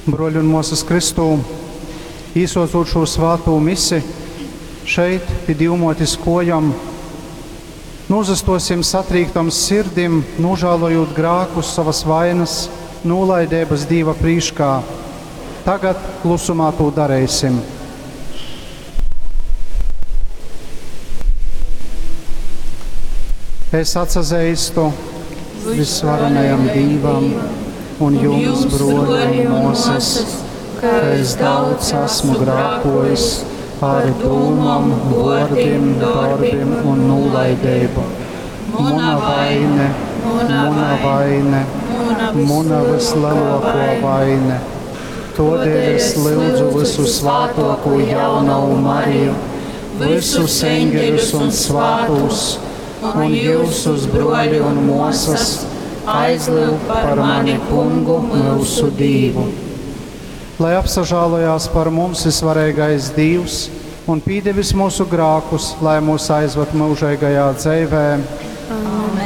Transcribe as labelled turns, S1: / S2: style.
S1: Bruoļi un muosys Kristū, īsuocūt šū svātū misi, šeit, pi Dīvmuotis kuojom, nūsastuosim satrīktom sirdim, nūžālojūt grākus, sovas vainas, nūlaideibys Dīva prīškā. Tagad klusumā tū dareisim. Es atsazeistu visvarenajam Dīvam un jums, bruoļi un muosys, ka es daudz esmu grākojis ar dūmom, vuordim, dorbim un nūlaideibu. Muna vaine, muna vaine, muna visleluokuo vaine. Todēļ es lyudzu visu svātuokū jaunavu Mariju, visus eņģeļus un svātūs, un jyusus, bruoļi un muosys, aizlyugt par mani Kungu myusu Dīvu. Lai apsažālojās par mums visvareigais Dīvs un pīdevis mūsu grākus, lai mūs aizvad myužeigajā dzeivē.